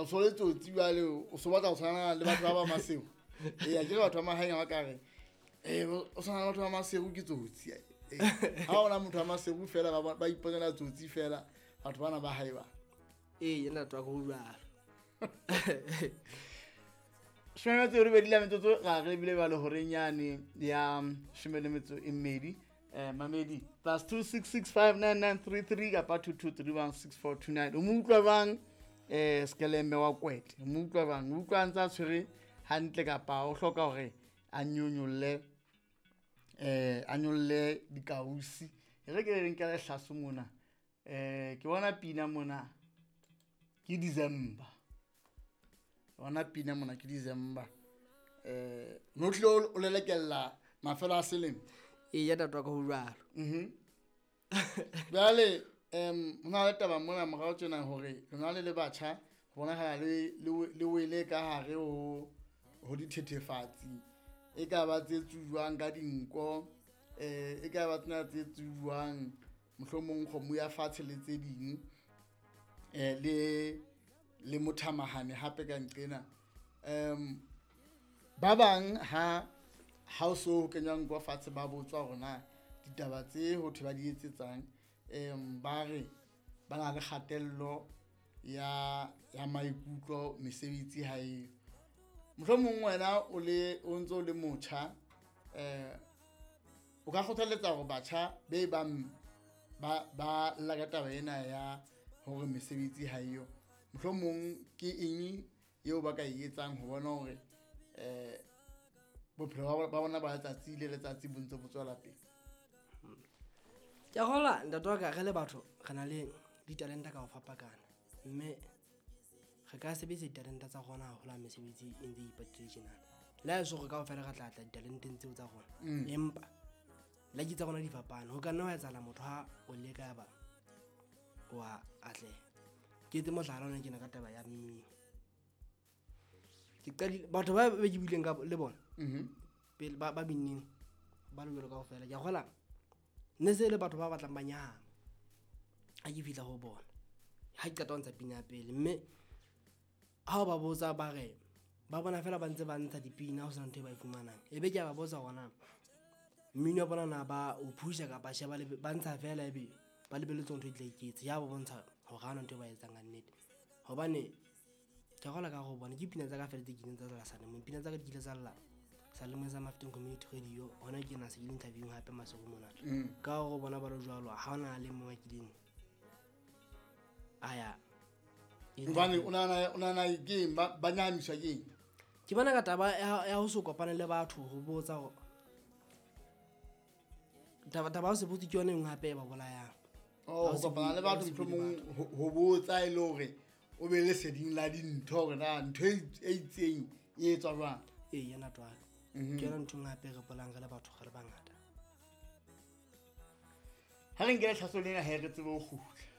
O so le tsotsi jwale, o so batla ho tshwana le batho ba ba Maseru. Ee, akere batho ba mahaeng ha ba ka re, o tshwana le batho ba Maseru ke tsotsi. Ha hona motho wa Maseru fela ba iponela tsotsi fela batho bana ba hae ba. Ee, ntate wa ka ho jwalo. 18 la metsotso ra re bile ba le horeng yane ya 12. Mamedi plus 266599933 kapa 22316429. O mo utlwa bang Skeleme wa Kwete? O mo utlwa bang? O utlwa ntse a tshwere hantle kapa o hloka hore a nyonyolle a nyolle dikausi? E re ke re nkele hlaso mona. Ke bona pina mona ke December. Bona pina mona ke December. No tlile o lelekella mafelo a selemo. Ee, ya ntate wa ka ho jwalo. Jwale ho na le taba mona morao tjena hore lona le le batjha ho bonahala le wele ka hare ho dithethefatsi, e ka ba tse tsujwang ka dinko, e ka ba tsena tse tsujwang mohlomong kgomo ya fatshe le tse ding, le mothamahane hape ka nqena. Ba bang ha o so kenyang nko fatshe ba botswa hore na ditaba tse ho thwe ba di etsetsang, ba re ba na le kgatello ya maikutlo, mesebetsi ha eyo. Mohlomong wena o ntso o le motjha, o ka kgothaletsa hore batjha be bang ba lla ka taba ena ya hore mesebetsi ha eyo, mohlomong ke eng eo ba ka e etsang ho bona hore bophelo ba bona ba letsatsi le letsatsi bo ntse bo tswela pele? Ke a kgolwa ntate wa ka, re le batho re na le ditalente ka ho fapakana, mme re ka sebedisa ditalente tsa rona haholo ha mesebetsi e ntse e ipatile tjenana. Le ha e se hore kaofela re tla tla ditalenteng tseo tsa rona, empa lucky tsa rona di fapane. Ho ka nna hwa etsahala motho ha o leka ya ba wa atleha. Ke etse mohlala ona kena ka taba ya mmino. Ke qadile batho ba be ke buileng ka le bona pele ba binneng ba le jwalo kaofela. Ke a kgolwa ne se le batho ba batlang ba nyahama ha ke fihla ho bona, ha ke qeta ho ntsha pina ya pele. Mme ha o ba botsa ba re ba bona fela ba ntse ba ntsha dipina ho sena ntho e ba e fumanang. Ebe ke a ba botsa hore na mmino wa bona na ba o pusha kapa tjhe, ba ntsha fela ebe ba lebelletse ntho e tla iketsa. Ya ba bontsha hore ha hona ntho e ba etsang ka nnete. Hobane ke a kgolwa ka hore bona ke pina tsa ka fela tse kileng tsa lla Salemong. Pina tsa ka di kile tsa lla Salemong sa Mafteng Community Radio. Hona ke na se ke le interview hape Maseru mona. Ka hore bona ba le jwalo, ha hona le mong a kileng a ya. Hobane o nahana ke eng ba nyahamiswa ke eng? Ke bona ka taba ya ho se kopane le batho, ho botsa hore taba ya ho se botse ke yona e nngwe hape e ba bolayang. Ho kopana le batho mohlomong ho botsa e le hore o be leseding la dintho hore na ntho e itseng e etswa jwang. Ee, yona twalo. Ke yona ntho e nngwe hape e re bolayang re le batho re le bangata. Ha re nkele tlhaso lena he re tsebe ho kgutla.